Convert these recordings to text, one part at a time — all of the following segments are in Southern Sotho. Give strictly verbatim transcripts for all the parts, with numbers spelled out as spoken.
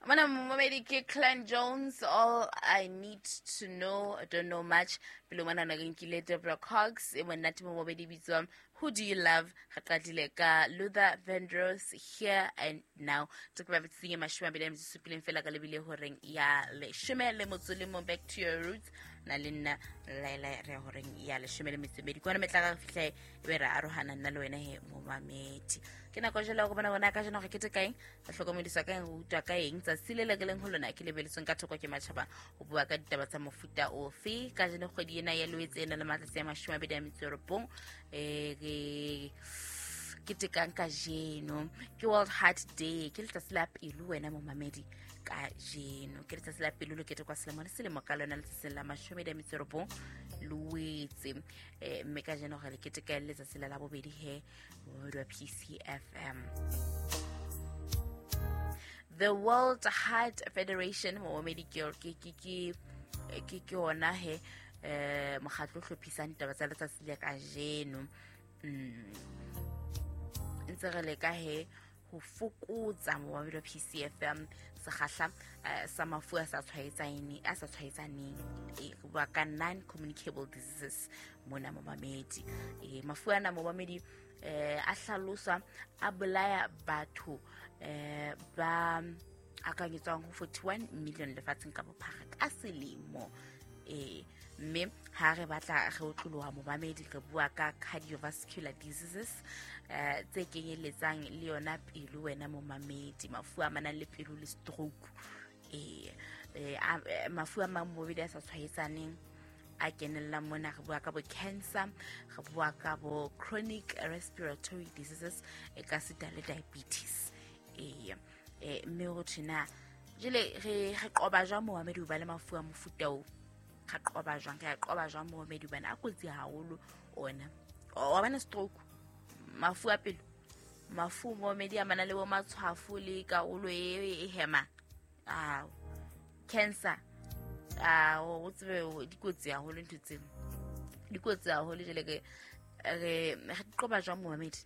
Mona momamedi ke Clan Jones, All I Need to Know, I Don't Know Much. Pele mona na re nkile Deborah Cox, e monate momamedi bitswang Who Do You Love? Re qadile ka Luther Vandross, Here and Now. Tse ke ba bitseng mashome a mabedi a metso e supileng fela ka lebile horeng ya leshome le motso le mong. Back to Your Roots na le nna Laila re ya horeng ya leshome le metso e medi. Kwana metla ka fihla e be re arohana nna le wena he momamedi. Ke nako jwale go bona bona ka jeno re kete kaeng, re hlokomediswa ka eng, re utlwa ka eng tsatsi le le re leng ho lona ke lebeletsweng ka thoko ke matjhaba ho bua ka ditaba tsa mofuta ofe. Ka jeno kgwedi ena ya Loetse e na le matsatsi a mashome a mabedi a metso e robong, eh re ketekang kajeno ke World Heart Day, ke letsatsi la pelo wena momamedi. Kajeno ke letsatsi la pelo le ketekwa selemo le selemo ka lona letsatsing la mashome a mabedi a metso e robong Loetse, eh mme kajeno re le keteka letsatsi la labobedi he momamedi wa P C F M. The World Heart Federation momamedi ke ke ke ke ke ona he eh mokgatlo o hlophisang ditaba tsa letsatsi le kajeno. Mm ntse re leka he ho fokotsa momamedi wa P C F M sekgahla sa mafu a sa tshwaetsaneng a sa tshwaetsaneng, e bua ka non communicable diseases mona momamedi. E mafu ana momamedi eh a hlaloswa a bolaya batho eh ba akanyetswang ho forty-one million lefatsheng ka bophara ka selemo. E mme ha re batla re otloloha momamedi re bua ka cardiovascular diseases eh tse kenyelletsang le yona pelo wena momamedi, mafu a manang le pelo le stroke, eh mafu a mang momamedi a sa tshwaetsaneng a kenella mona. Re bua ka bo cancer, re bua ka bo chronic respiratory diseases e ka sita le diabetes. Eh eh mme ho thina jele re re qoba jwang momamedi ho ba le mafu a mofuta o? Re qoba jwang? Re qoba jwang momamedi bana a kotsi haholo ona o bana stroke, mafu a pelo, mafu momamedi a mana le bo matshwafo le karolo e e hema, ah cancer, ah o tsebe dikotsi haholo ntho tseo dikotsi haholo. Jele ke re re qoba jwang momamedi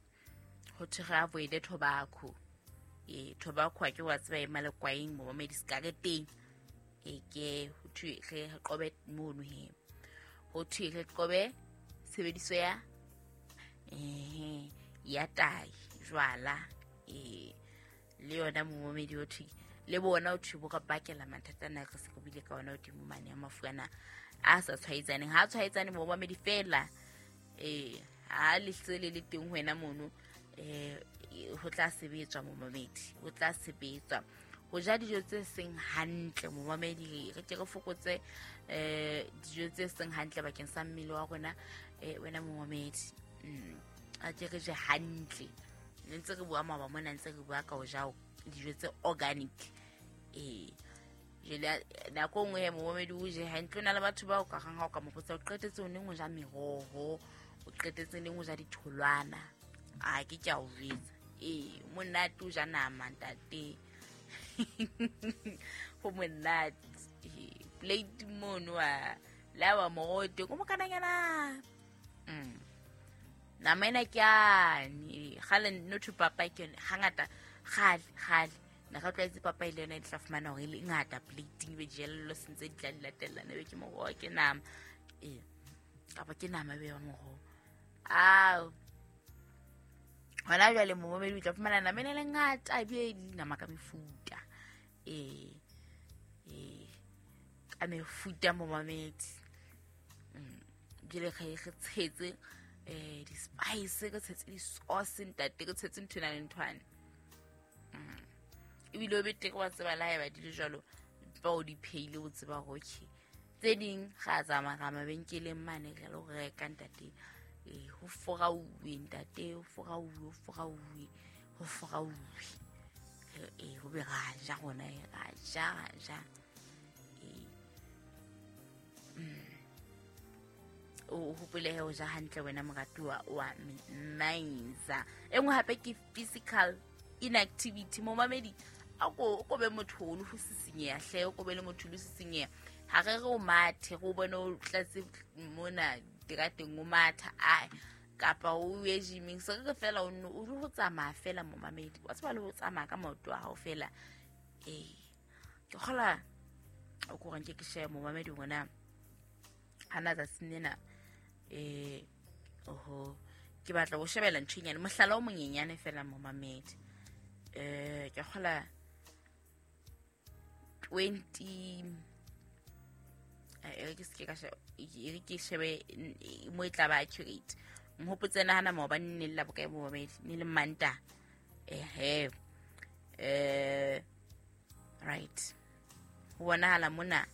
ho thwe re avoid tobacco. E tobacco ke wa tseba e malekwaeng momamedi sikareteng e ke ho thwe re qobe mono he, ho thwe re qobe tshebediso ya eh ya tai jwala e le yona momamedi ho thwe le bona ho thwe bo ka bakela mathata ana re se re buile ka ona hodimo mane a mafu ana a sa tshwaetsaneng. Ha tshwaetsane momamedi fela eh ha le hlele le teng ho wena mono eh ho tla sebetswa momamedi, ho tla sebetswa ho ja dijo tse seng hantle momamedi. Re ke re fokotse eh dijo tse seng hantle bakeng sa mmele wa rona eh wena momamedi. Mm a ke re je hantle, ne ntse re bua maba mona ntse re bua ka ho ja dijo tse organic. Eh jele nako nngwe momamedi o je hantle, o na le batho ba o ka rang ha o ka mo botsa o qetetse o neng o ja meroho, o qetetse neng o ja ditholwana, a ke ke a o jwetsa eh monate o ja nama ntate ho monate plate mono a la wa morote ko mokananyana mm nama ena ke ane kgale no to papa ke yone hangata kgale kgale na ka tlwaetse papa ile yona e tla fumana hore e le ngata plating be jello sentse di tla di latellana be ke moroho ke nama eh kapa ke nama be ya moroho ao hona jwale momamedi o tla fumana nama ena le ngata ebile e nama ka mefuta eh eh ka mefuta momamedi. Mm jele re re tshetse eh di spice re tshetse di sauce ntate re tshetse ntho ena le nthwane. Mm ebile o betere wa tseba la haeba di le jwalo ba o di pheile o tseba hore okay tse ding ga tsamaya ga mabenkeleng mane re lo reka ntate eh ho forauwe ntate ho forauwe ho forauwe ho forauwe eh ho be ra ja rona ra ja ra ja eh o hopole he o ja hantle wena moratuwa wa Mainza. E nngwe hape ke physical inactivity momamedi a ko o be motho o le ho sisinyeha hle o ko be le motho le sisinyeha ha re re o mathe go bone o tlatse mona terateng o matha ai kapa o ye gyming se re fela o nno o ho tsamaya fela momamedi wa tseba le ho tsamaya ka maoto a hao fela eh Ke kgola o ko reng ke ke share momamedi ngwana hana tsatsing lena eh oho ke batla go shebela ntho e nyane mohlala o monyenyane fela momamedi eh ke kgola twenty e ke se ka e ke shebe mo e tla ba accurate mhopotse nahana maobane ne le la bokae momamedi ne le Manta ehe eh right ho bonahala mona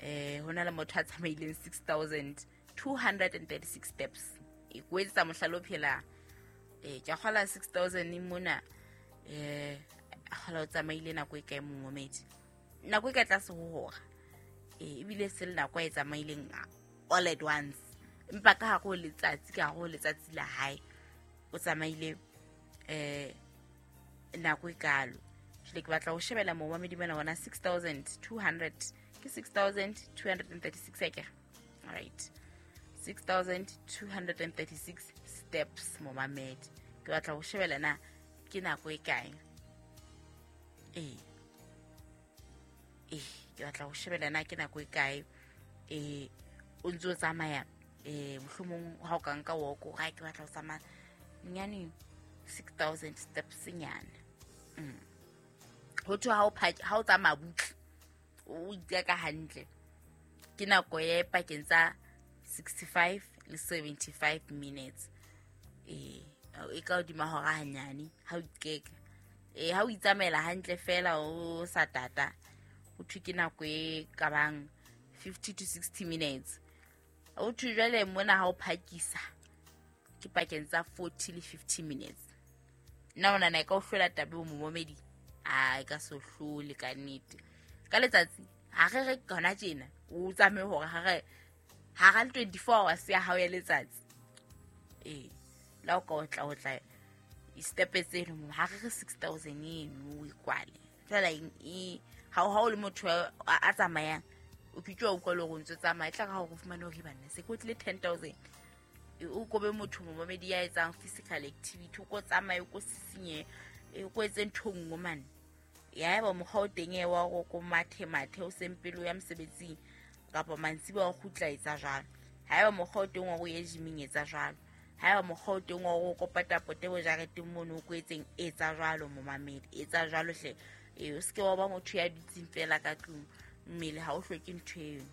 eh hona le motho a tsamaileng six thousand two hundred thirty-six steps e kwetsa mohlalo o phela eh ke kgola six thousand mona eh kgola o tsamaile nako e kae momamedi nako e ka tlase ho hora eh ebile se le nako e tsamaileng all at once empa ka hare ho letsatsi ka hare ho letsatsi la hae o tsamaile eh nako e kalo. Jwale ke batla ho shebela momamedi bana bona six thousand two hundred ke six thousand two hundred thirty-six akere. All right, six thousand two hundred thirty-six steps momamedi ke batla ho shebela na ke nako e kae eh eh ke batla ho shebela na ke nako e kae eh o ntse o tsamaya eh mohlomong ha o ka nka walk o ga ke batla ho tsamaya nyane six thousand steps nyane mm ho thwe ha o ha o tsamaya butle o iteka hantle ke nako e pakeng tsa sixty-five le seventy-five minutes eh e ka hodima hora hanyane ha o ikeka eh ha o itsamaela hantle fela o sa tata ho thwe ke nako e ka bang fifty to sixty minutes o thwe jwale mona ha o phakisa ke pakeng tsa forty le fifty minutes nna ona na e ka o hlola tabe o momamedi a e ka so hlole ka nnete ka letsatsi ha re re hona tjena o tsamaye hore ha re ha ra twenty-four hours ya hao ya letsatsi eh la o ka o tla o tla step tseno mo ha re re six thousand eno o ikwale fela e ha o ha o le motho a tsamayang o ke tjwa o utlwa le hore o ntso tsamaya e tla ka hore o fumane hore banna se ko tlile ten thousand o kobe motho momamedi ya etsang physical activity o ko tsamaye o ko sisinye o ko etse ntho nngwe mane ya eba mokgwa o teng e wa go ko mathe mathe o sempelo ya mosebetsing kapa mantsiboya o kgutla etsa jwalo ha eba mokgwa o teng wa go ye gyming etsa jwalo ha eba mokgwa o teng wa go kopa pote bo jareteng mono o ko etseng etsa jwalo momamedi etsa jwalo hle e o seke wa ba motho ya dutseng fela ka tlung mmele ha o hloke ntho eno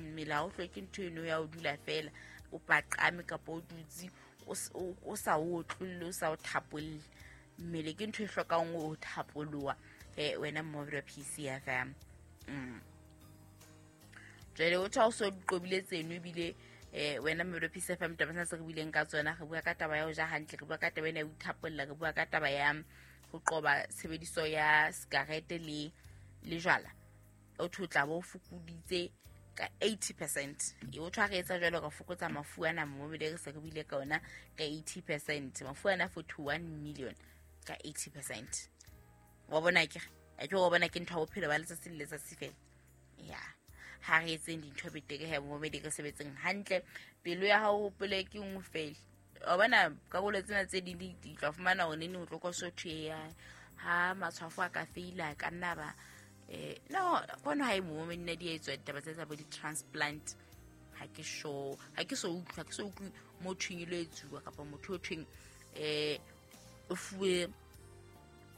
mmele ha o hloke ntho eno ya o dula fela o paqame kapa o dutse o sa o otlolle o sa o thapolle mmele ke ntho e hlokang o thapoloha eh wena momamedi wa P C F M mm jwale o tha o so qobile tseno ebile eh wena momamedi wa P C F M taba tsena tse re buileng ka tsona re bua ka taba ya ho ja hantle re bua ka taba ena ya ho ithapolla re bua ka taba ya ho qoba tshebediso ya sigarete le le jwala o thwe o tla bo fokoditse ka eighty percent e o thwa re etsa jwalo ka fokotsa mafu ana momamedi re se re buile ka ona ka eighty percent mafu ana forty-one million ka eighty percent wa bona ke a ke wa bona ke ntho ya bophelo ba letsatsi le letsatsi fela ya ha re etseng dintho betere he momamedi re sebetseng hantle pelo ya hao hopole ke nngwe fela wa bona karolo tsena tse ding di tla fumana hore nene o tlo ko sotho ya ha matshwafo a ka feila ka nna ba eh no kono ha e momamedi nna di etswa ditaba tse tsa bo di-transplant ha ke sure ha ke so utlwa ha ke so utlwe motho e lo etsuwa kapa motho o thweng eh o fuwe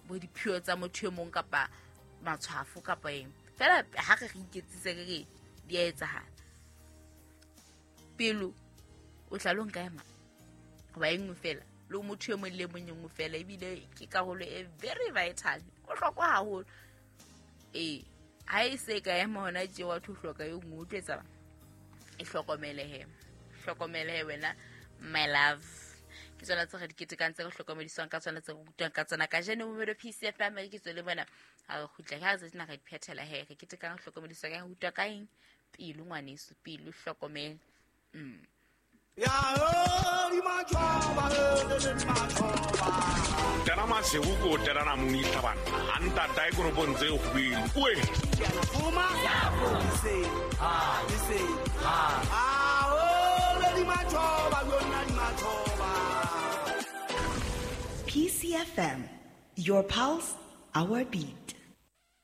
bo diphio tsa motho e mong kapa matshwafo kapa eng fela ha re re iketsise re re di a etsahala pelo o tla lo nka ema hoba e nngwe fela le motho e mong le mong e nngwe fela ebile ke karolo e very vital o hlokwa haholo eh ha e se ka ema hona tje wa tho hloka e nngwe o tlo etsa e hlokomele he hlokomele he wena my love ke tsona tse re di ketekang tse re hlokomediswang ka tsona tse re rutwang ka tsona kajeno momamedi P C F M re ke tswele bona ha re kgutla ha re tsena re di phethela he re ketekang re hlokomediswa ka rutwa ka eng pelo ngwaneso pelo hlokomele mm Tena masego tena muni tabana anta dai go bontse go bile oe fuma se ha se ha a o le di machoba yona di machoba. P C F M, your pulse, our beat.